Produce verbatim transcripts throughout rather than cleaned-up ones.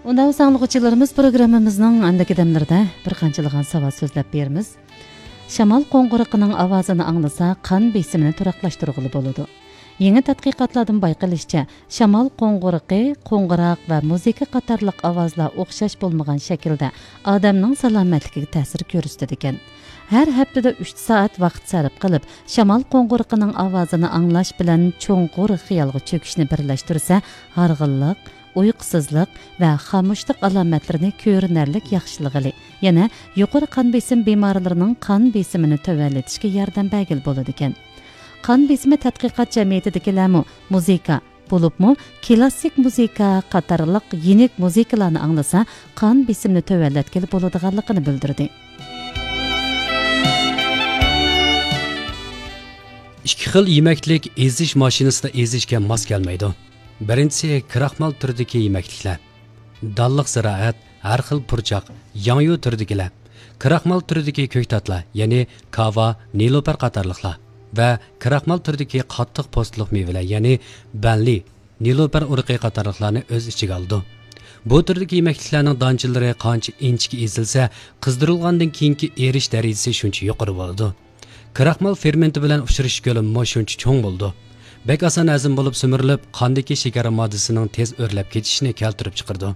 ئۇنداق بولسا ئاڭلىغۇچىلىرىمىز، پروگراممىمىزنىڭ ئاندىكى دەملىرىدە بىر قانچىلىغان ساۋات سۆزلەپ بېرىمىز. شامال قوڭغۇرىقىنىڭ ئاۋازىنى ئاڭلىسا، قان بېسىمىنى تۇراقلاشتۇرغىلى بولىدۇ. يېڭى تەتقىقاتلاردىن بايقىلىشىچە، شامال قوڭغۇرىقى، قوڭغۇراق ۋە مۇزىكا قاتارلىق ئاۋازلار ئوخشاش بولمىغان شەكىلدە ئادەمنىڭ سالامەتلىكىگە تەسىر كۆرسىتىدىكەن. ھەر ھەپتىدە ئۈچ سائەت ۋاقىت سەرپ قىلىپ، شامال قوڭغۇرىقىنىڭ ئاۋازىنى ئاڭلاش بىلەن چوڭقۇر خىيالغا چۆكۈشنى بىرلەشتۈرسە، ھارغىنلىق، ئۇيقۇسىزلىق ۋە خامۇشلۇق ئالامەتلىرىنى كۆرۈنەرلىك ياخشىلىغىلى، يەنە يۇقىرى قان بېسىم بىمارلىرىنىڭ قان بېسىمىنى تۆۋەنلىتىشكە ياردەم بەرگىلى بولىدىكەن. قان بېسىمى تەتقىقات جەمئىيىتىدىكىلەرمۇ مۇزىكا، بولۇپمۇ كلاسسىك مۇزىكا قاتارلىق يېنىك مۇزىكىلارنى ئاڭلىسا، قان بېسىمىنى تۆۋەنلەتكىلى بولىدىغانلىقىنى بىلدۈردى. ئىككى خىل يېمەكلىك ئېزىش ماشىنىسىدا ئېزىشكە ماس كەلمەيدۇ. بىرىنچىسى، كراخمال تۈرىدىكى يېمەكلىكلەر. دانلىق زىرائەت، ھەر خىل پۇرچاق، ياڭيۇ تۈرىدىكىلەر، كراخمال تۈرىدىكى كۆكتاتلار، يەنى كاۋا، نېلۇپەر قاتارلىقلار ۋە كراخمال تۈرىدىكى قاتتىق پوستلۇق مېۋىلەر، يەنى بەنلى، نېلۇپەر ئۇرۇقى قاتارلىقلارنى ئۆز ئىچىگە ئالىدۇ. بۇ تۈردىكى يېمەكلىكلەرنىڭ دانچىلىرى قانچە ئىنچىكە ئېزىلسە، قىزدۇرۇلغاندىن كېيىنكى ئېرىش دەرىجىسى شۇنچە يۇقىرى بولىدۇ. كراخمال فېرمېنتى بىلەن ئۇچرىشىش كۆلىمىمۇ شۇنچە چوڭ بولىدۇ. بەك ئاسان ھەزىم بولۇپ سۈمۈرۈلۈپ، قاندىكى شېكەر ماددىسىنىڭ تېز ئۆرلەپ كېتىشىنى كەلتۈرۈپ چىقىرىدۇ.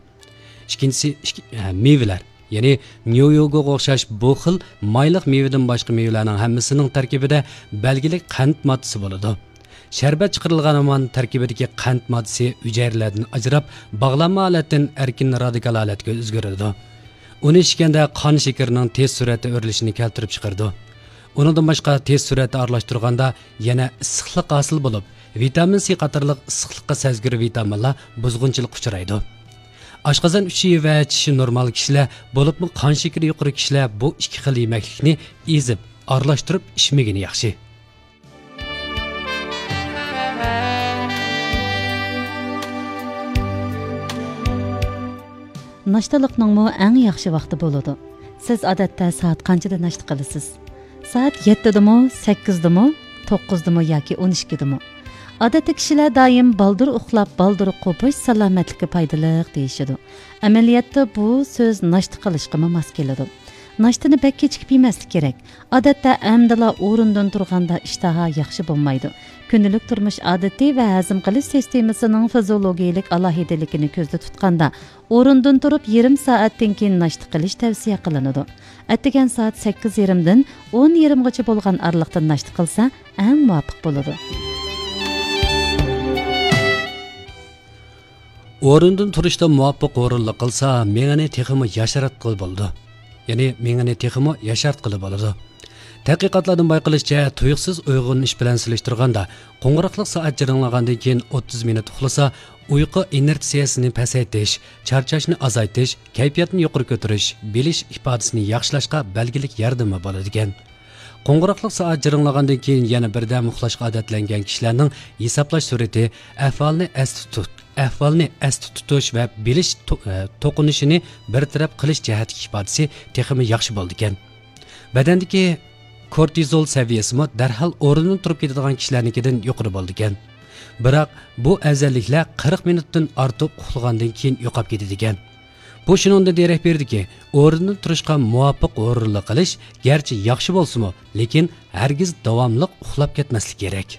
ئىككىنچىسى، ئىككى-، ھە، مېۋىلەر. يەنى نيۇيوگوغا ئوخشاش بۇ خىل مايلىق مېۋىدىن باشقا مېۋىلەرنىڭ ھەممىسىنىڭ تەركىبىدە بەلگىلىك قەنت ماددىسى بولىدۇ. شەربەت چىقىرىلغان ھامان تەركىبىدىكى قەنت ماددىسى ھۈجەيرىلەردىن ئاجراپ، باغلانما ھالەتتىن ئەركىن رادىكال ھالەتكە ئۆزگىرىدۇ. ئۇنى ئىچكەندە قان شېكىرىنىڭ تېز سۈرئەتتە ئۆرلىشىنى كەلتۈرۈپ چىقىرىدۇ. ئۇنىڭدىن باشقا، تېز سۈرئەتتە ئارىلاشتۇرغاندا يەنە ئىسسىقلىق ھاسىل بولۇپ، ۋىتامىن سى قاتارلىق ئىسسىقلىققا سەزگۈر ۋىتامىنلار بۇزغۇنچىلىققا ئۇچرايدۇ. ئاشقازان ئىچى ۋە چىشى نورمال كىشىلەر، بولۇپمۇ قان شېكىرى يۇقىرى كىشىلەر بۇ ئىككى خىل يېمەكلىكنى ئېزىپ، ئارىلاشتۇرۇپ ئىچمىگىنى ياخشى. ناشتىلىقنىڭمۇ ئەڭ ياخشى ۋاقتى بولىدۇ. سىز ئادەتتە سائەت قانچىدا ناشتا قىلىسىز؟ سائەت يەتتىدىمۇ، سەككىزدىمۇ، توققۇزدىمۇ ياكى ئون ئىككىدىمۇ؟ ئادەتتە كىشىلەر دائىم بالدۇر ئۇخلاپ، بالدۇر قوپۇش سالامەتلىككە پايدىلىق دېيىشىدۇ. ئەمەلىيەتتە بۇ سۆز ناشتا قىلىشقىمۇ ماس كېلىدۇ. ناشتىنى بەك كېچىكىپ يېمەسلىك كېرەك. ئادەتتە ئەمدىلا ئورۇندىن تۇرغاندا ئىشتىھا ياخشى بولمايدۇ. كۈندىلىك تۇرمۇش ئادىتى ۋە ھەزىم قىلىش سىستېمىسىنىڭ فىزىولوگىيىلىك ئالاھىدىلىكىنى كۆزدە تۇتقاندا، ئورۇندىن تۇرۇپ يېرىم سائەتتىن كېيىن ناشتا قىلىش تەۋسىيە قىلىنىدۇ. ئەتىگەن سائەت سەككىز يېرىمدىن ئون يېرىمغىچە بولغان ئارىلىقتا ناشتا قىلسا، ئەڭ مۇۋاپىق بولىدۇ. ئورۇندىن تۇرۇشتا مۇۋاپىق ھۇرۇنلۇق قىلسا، مېڭىنى تېخىمۇ ياشارتقىلى بولىدۇ. يەنى مېڭىنى تېخىمۇ ياشارتقىلى بولىدۇ. تەتقىقاتلاردىن بايقىلىشىچە، تۇيۇقسىز ئويغىنىش بىلەن سېلىشتۇرغاندا، قوڭغۇراقلىق سائەت جىرىڭلىغاندىن كېيىن ئوتتۇز مىنۇت ئۇخلىسا، ئۇيقۇ ئىنېرتسىيەسىنى پەسەيتىش، چارچاشنى ئازايتىش، كەيپىياتنى يۇقىرى كۆتۈرۈش، بىلىش ئىپادىسىنى ياخشىلاشقا بەلگىلىك ياردىمى بولىدىكەن. قوڭغۇراقلىق سائەت جىرىڭلىغاندىن كېيىن يەنە بىردەم ئۇخلاشقا ئادەتلەنگەن كىشىلەرنىڭ ھېسابلاش سۈرئىتى، ئەھۋالنى ئەستە تۇت-، ئەھۋالنى ئەستە تۇتۇش ۋە بىلىش تو-، ئە، توقۇنۇشىنى بىر تەرەپ قىلىش جەھەتتىكى ئىپادىسى تېخىمۇ ياخشى بولىدىكەن. بەدەندىكى كورتىزول سەۋىيەسىمۇ دەرھال ئورنىدىن تۇرۇپ كېتىدىغان كىشىلەرنىڭكىدىن يۇقىرى بولىدىكەن. بىراق، بۇ ئەۋزەللىكلەر قىرىق مىنۇتتىن ئارتۇق ئۇخلىغاندىن كېيىن يوقاپ كېتىدىكەن. بۇ شۇنىڭدىن دېرەك بېرىدۇكى، ئورنىدىن تۇرۇشقا مۇۋاپىق ھۇرۇنلۇق قىلىش گەرچە ياخشى بولسىمۇ، لېكىن ھەرگىز داۋاملىق ئۇخلاپ كەتمەسلىك كېرەك.